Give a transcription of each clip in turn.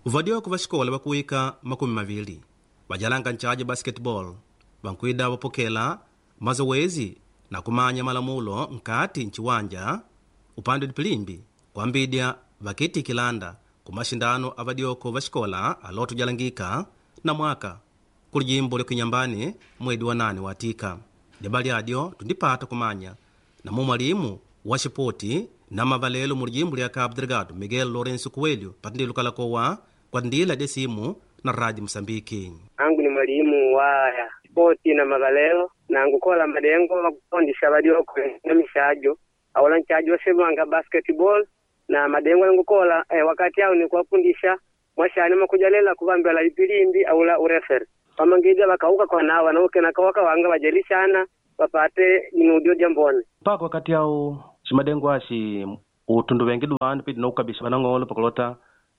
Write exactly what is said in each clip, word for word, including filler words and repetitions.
Vadyoko va xikola vakuwika makumi mavili vajalanga nchaji basketball vankwida vapokela mazowezi na kumanya malamulo nkati nchiwanja upande dipilimbi kwambidya vakiitikilanda ku maxindano a vadyoko va xikola aloto jalangika na mwaka kuli jimbo lya Kinyambani mwedi wa nane watika. Dibali adyo tundipata kumanya na mwalimu wa xipoti na mavalelo mu lijimbo lya Cabo Delgado Miguel Lourenço Coelho patindilo kalakowa kwa ndila de simu na Rádio Moçambique. Angu ni mwalimu wa spoti na mavalelo na ngukola madengo wakufundisha vadioko na mishajo aula nchajo wasemanga basketball na madengo nangukola eh, wakati ao ni kuwafundisha mwashani makujalela kuvambela ipilimbi aula ureferi pamangija vakauka kwa nawa nauke nakawaka wanga vajelishana vapate minudio jambone mpaka wakati ao ximadengo axi utundu vengi duvandu pidi noukabisha vanang'olo pakulota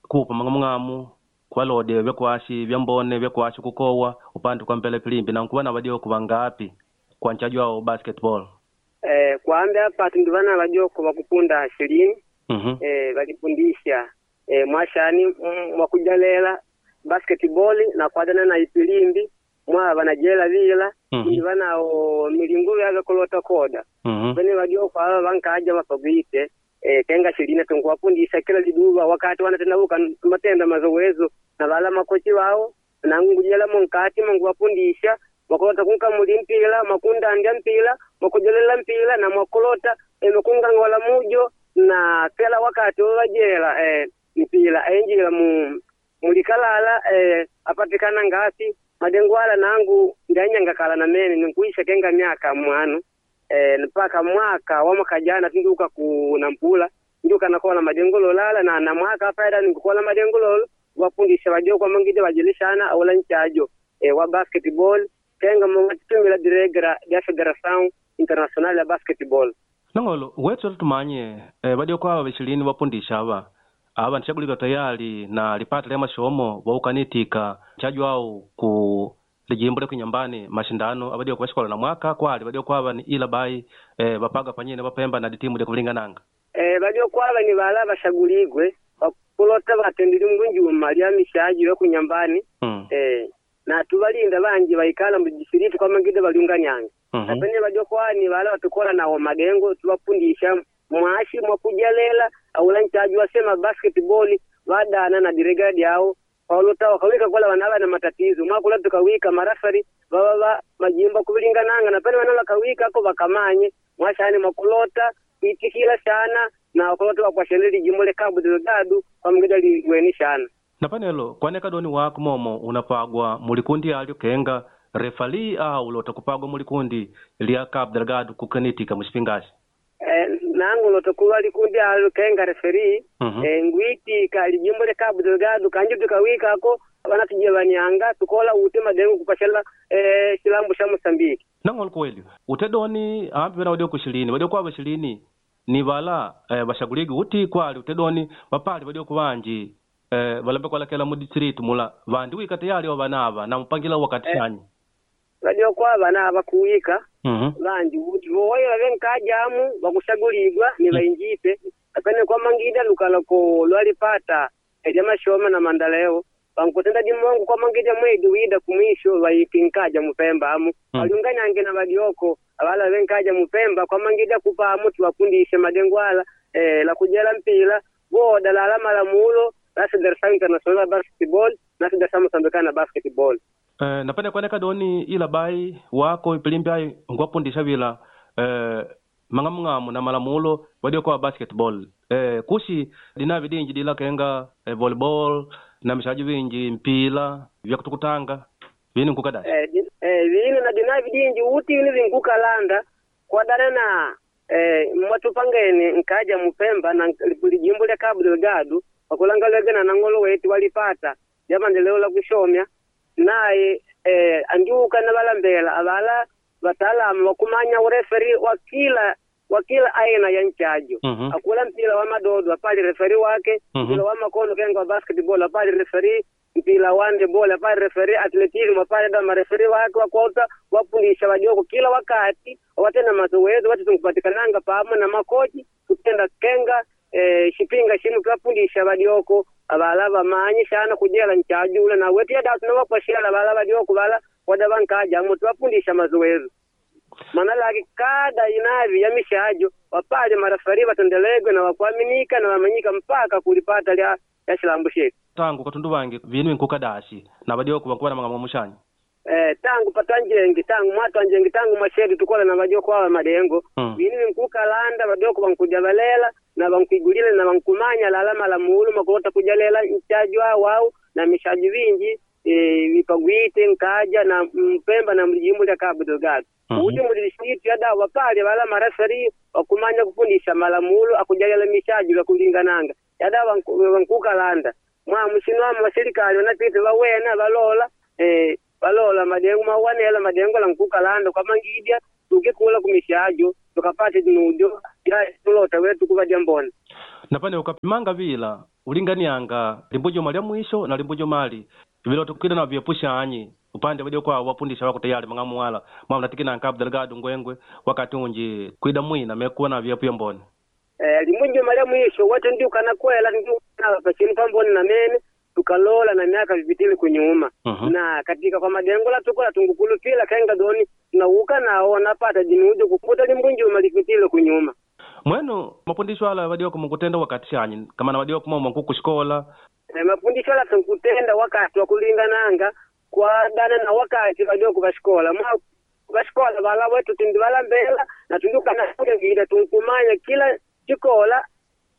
kupa mang'amung'amu kuvalode vyakuaxi vyambone vyakuaxi kukowa upande kwa mbele pilimbi na nkuva na vadioko vangapi kwa nchaji wao basketball eh, kwambe apa tundu vana vadioko vakupunda shirini mm-hmm. eh, valifundisha eh, mwashani mm, mwakujalela basketball na kwadana na ipilimbi mwa vanajela vila Mhm. mm vanao milingo yave kulota koda mm-hmm. vene vadioko ava vankaja vapagwite eh, kenga shilina tunkuwafundisha kila liduva wakati wanatendavuka matenda mazowezo na vala makochi wao nangujela munkati munguwafundisha mwakulota kunkamuli mpila mwakundandya mpila mwakujelela mpila na mwakulota eh, mwakungangola mujo na kila wakati wavajela eh, mpila enjila mu mulikalala eh, apatikana ngasi madengwala nangu ndanyangakala na mene ninkuisha kenga myaka mwanu eh, mpaka mwaka wa mwaka jana tinduka ku nampula nduka nakola madengo lala na na mwaka faida nikukola madengo lolo wafundisha wajoko mangide wajelishana aula nchajo eh, wa basketball kenga mwatumila diregra ya Federação Internacional ya Basketball nang'olo wetu tumanye eh, vadioko ava vixilini vapundisha ava ava nixagulika tayali na lipata lya maxomo vaukanitika nchaji wao ku lijimbo lya Kinyambani maxindano avadioko va xikola na mwaka kwali vadioko ava ni ila bai eh, vapaga panyene vapemba na ditimu lya kuvilingananga eh, bajoko ava ni vala vashaguligwe vakulota vatendile ngunjuma lya mishaji yo kunyambani mm. eh, na tuvalinda vanji vaikala mudisiritu kwa mangide valiunganiange mm-hmm. napene vajokwani vala vatukola nawo madengo tuvapundisha mwashi mwakujalela aula nchaji wasema basketball vadana na diregadi yao paulota wakawika kola vanava na matatizo mwakula tukawika marafari vava va majimbo kuvilingananga napene vana vakawika ako vakamanye mwashani mwakulota kuitikila sana na wakulota wakwashenele lijimbo le Cabo Delgado pamugida liweni shana na panelo kwaneka doni wako momo unapagwa mulikundi alyo kenga refali au ulota kupagwa mulikundi lya Cabo Delgado kukanitika muxipingaxi eh, nangu lotokuva likundi alo kenga referi mm-hmm. e, ngwiti ka lijimbo le Cabo Delgado kanji tukawikako vanatuje vanyanga tukola ute madengo kupashela e, chilambo sha Mosambiki nang'olo kweli utedoni ambi vena vadioko xilini vadioko ava xilini ni vala eh, vaxaguligi uti kwali utedoni vapali vadioko vanji eh, valambe kualakela mu distritu mula vandi wika tayali wa vanava na mupangila wakati Eh. xanyi vadioko ava na vakuwika mm-hmm. vanji uti voya vavenkajamu vakushaguligwa ni vainjipe apene kwa mangida lukala ko lwalipata lya mashoma na mandaleo vankutenda dimongo kwa mangida mwedi wida kumwisho vaikinkaja mupemba amu Mm. waliunganyange na vadioko avala venkaja mupemba kwa mangida kupamu tuwafundishe madengwala eh, la kujela mpila voda lala malamulo la Federação Internacional ya Basketball na Federação Moçambicana ya Basketball Eh, napene kuaneka doni ila bai wako ipilimbi ayi nkuwapundisha vila eh, mang'amung'amu na malamulo vadioko wa basketball eh, kuxi dinavi dinji dila kenga eh, volleyball na mixaji vinji mpila vya kutukutanga vini nkukadai eh, di- eh, vino na dinavi dinji uti vino vinkukalanda kwadana na eh, mwatupangeni nkaja mupemba na lijimbo lya Cabo Delgado wakulangalege na nang'olo wetu walipata lya maendeleo la kushomya naye eh, andiuka na valambela avala wataalamu wakumanya ureferi wa kila wa kila aina ya nchajo Mhm. akula mpira wa madodo apali referi wake Mhm. mpira wa makono kenga wa basketball apali referi mpira wa handball apali referi athleticism apali da mareferi wake wakota wapundisha wajoko kila wakati watenda mazoezi wati tunkupatikananga pamo na makochi kutenda kenga eh, shipinga shinu twapundisha vadioko avala vamanyi sana kujela nchajula na wetu yada tunawapashela vala vadioko vala wada vankaja amo twapundisha mazoezo mana laki kada inavi ya mishajo wapale marafari vatendelegwe na wakuaminika na wamanyika mpaka kulipata lya ya shilambu shetu tangu katundu vangi vinu inkukadashi na vadioko vankuva na mang'amwa mushanyi eh, tangu patwanjengi tangu mwatwanjengi tangu mwashetu tukola na vadioko awa madengo Mm. vinu vinkukalanda vadioko vankuja valela na vankuigulile na vankumanya lala malamulo makulota kujalela nchaji wawau na mishaji vinji e, vipagwite nkaja na mpemba na mlijimbo lya Cabo Delgado Mhm. uti mulisitu yadawa wapale wala marafari wakumanya kufundisha malamulo akujalela mishaji lwakulingananga yadawa vanku- vankukalanda mwa mushinwamo wasirikali wanapita vawena valola eh, valola madengo mawanela madengo la nkukalanda kwamangidya tukikula kumishajo tukapate nujo ya tulota wetu kuvadya mbona napane ukapimanga vila ulinganianga limbujuma lya mwisho na limbujuma li vilota kwida na vyepushanyi upande vadioko awo wapundisha wako tayari mang'amu wala mwamnatikina Cabo Delgado ngwengwe wakati unji kwida mwina mekuwa na vyepu mbone eh, limbujuma lya mwisho wete ndiukana kwela ndiukana pachinu pamboni na mene tukalola na miaka vipitile kunyuma Mhm. na katika kwa madengo la tukola tungukulupila kenga doni tunauka nao napata dinujo kukuta limbunjuma lipitile kunyuma mwenu mapundisho ala vadioko mukutenda wakati shanyi kama na vadioko mwa mwakukushikola e, mafundisho la tunkutenda wakati wa kulingananga kwadana na wakati vadioko vashikola mwa vashikola vala wetu tindi valambela na tundukana ngida tunkumanya kila chikola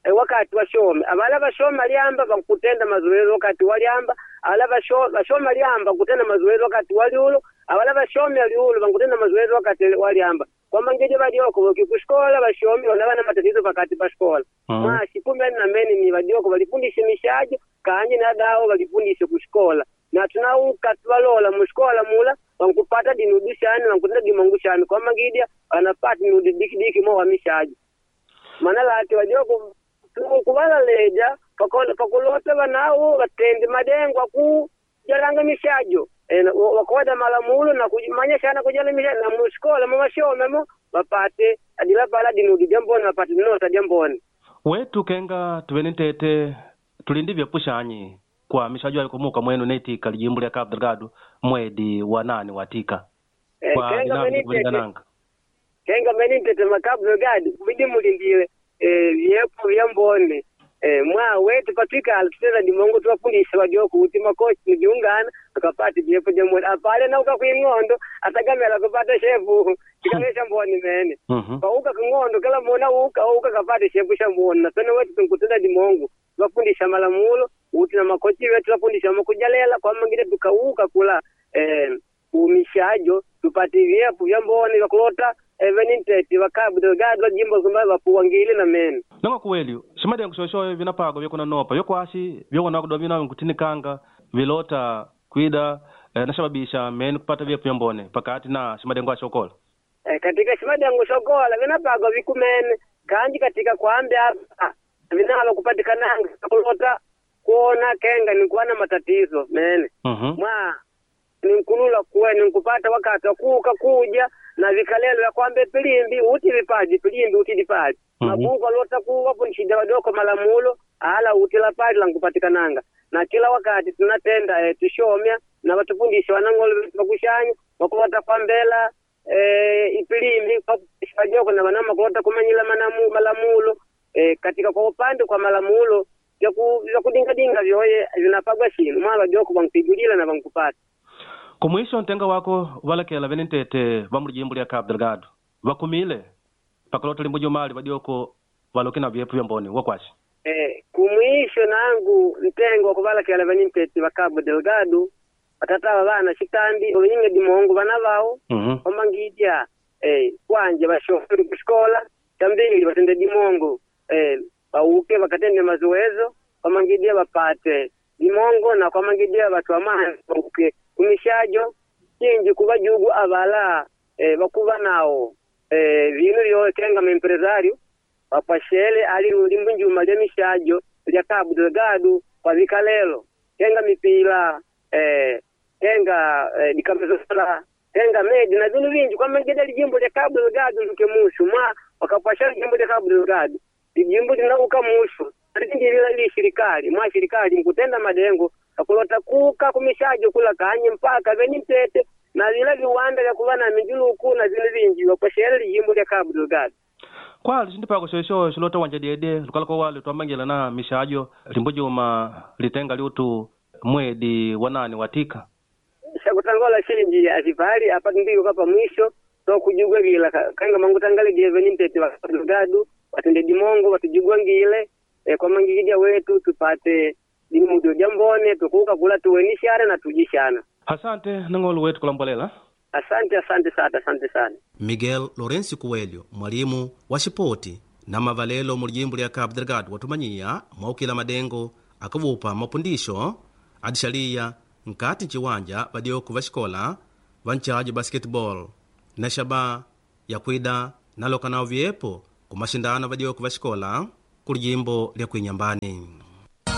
e, wakati washome avala vashoma lyamba vankutenda mazoezi wakati walyamba ala vasho- vashoma lyamba kutenda mazoezi wakati waliulo avala vashome liulo vankutenda mazoezi wakati walyamba kwamangidi vadioko vokikushikola vashomi vana na matatizo pakati pa shikola Mhm. mwa sikumi ani na mene ni vadioko valifundishe mishajo kanje na dawo valifundishe kushikola na tunauka tuvalola mushikola mula vankupata dinudu shani vankutenda dimongu shani kwamangidya vanapata nudi dikidiki mo wa mishajo mana lati vadioko kuvalaleja pakulota vanawo vatendi madengo aku jalanga mishajo e, wakoda malamulo na kumanya shana kujala mishajo na mushikola mumashomemo vapate adila pala dinudi dyamboni vapate nota dyamboni wetu kenga tuvene ntete tulindi vyepushanyi kwa mishajo alikumuka mwenu netika lijimbo lya Cabo Delgado mwedi wa nane watika Eh, kwa kenga dinavi meni tete kulingananga kenga meni tete makabu Delgado kubidi mulindile eh, vyepo vyambone eh, mwa wetu patwikala tutenda dimongo tuwafundisha wajoko kuti makochi nijiungana tukapate vyepo vyambone apale nauka kwing'ondo atagamela kupata shepu chikamesha mboni mene Mhm. pauka king'ondo kila mona uka uka kapate shepu sha mboni na pene wetu tunkutenda dimongo tuwafundisha malamulo uti na makochi wetu tuwafundisha makujalela kwamangile tukauka kula eh, umishajo tupate vyepu vya mboni vyakulota eveninteti vakabu Delgado vajimbo kumba vapuwangile na mene nonga kuweli shimadengo shoshoyo vinapago vyekuna nopa vyokwasi vyokona kudoa vinawe nkutinikanga vilota kwida eh, nashababisha meni kupata vyepu vyambone pakati na shimadengo ashokola e, katika shimadengo shokola vinapagwa vikumene kanji katika kwambi apa vinalo kupatikananga kulota kuona kenga nikuwa na matatizo mene Mhm. mwa ninkulula kuwe ninkupata wakati wakuuka kuja na vikalelo vya kwambe pilimbi uti vipaji pilimbi uti dipaji Mhm. mabuku alota kuwapo nshida wadoko malamulo ala uti la paji lankupatikananga na kila wakati tunatenda eh, tushomya na watufundisha wanang'olo vetu vakushanya wakulota kwambela eh, ipilimbi kwajoko na vanama kulota kumanyila manamu, malamulo eh, katika kwa upande kwa malamulo vyaku- vyakudingadinga vyoye vinapagwa shinu mwa vajoko vankupigulila na vankupata kumwisho ntenga wako valekela vene ntete va mulijimbo lya Cabo Delgado vakumile pakulota limbujumali vadioko valoke na vyepu vyambone wakwasi Eh, kumwisho nangu ntengo wakuvalakela vanimpeti va Cabo Delgado vatata va vana xitambi ovinyinge dimongo vana vawo Mhm. omangidya eh, kwanje vashoferi kuxikola xambili vatende dimongo eh, vauke vakatende mazoezo kwamangidya vapate dimongo na kwamangidya vatu vamani vauke kumishajo cinji kuva jugu avala eh, vakuva nawo eh, vinu vyo kenga maempresario vapashele ali limbunjuma lya mishajo lya Cabo Delgado kwa vikalelo kenga mipila eh, kenga eh, dikamezola kenga medi na vinu vinji kwamangida lijimbo lya Cabo Delgado luke mushu mwa wakapashela lijimbo lya Cabo Delgado lijimbo linauka mushu alindilila li serikali mwa serikali nkutenda madengo akulota kuka kumishajo kula kanye mpaka veni mpete na vila viwanda vya kuva na minjuluku na vinu vinji wakwashele lijimbo lya Cabo Delgado kwali cintipako xoixo xilota wanja dyedye lukalako wale twamangila na mixajo limbujuma litenga liutu mwedi wa nane watika xakutangola xinji azipali apa tindiko pa mwisho tokujugwa vila kanga mangutangale veni mpete wa Cabo Delgado watende dimongo watujugwangile e, kwa mangikija wetu tupate dimudo jambone tukuka kula tuwenishana na tujishana asante nang'olo wetu kulambolela asante asante sana asante sana Miguel Lourenço Coelho mwalimu wa xipoti na mavalelo mu lijimbo lya Cabo Delgado watumanyiya mwaukila madengo akuvupa mapundisho adixaliya nkati nciwanja vadyoku va xikola va ncajo basketball na xaba yakwida naloka nawo vyepo ku maxindano vadyoku va xikola ku lijimbo lya kuinyambani.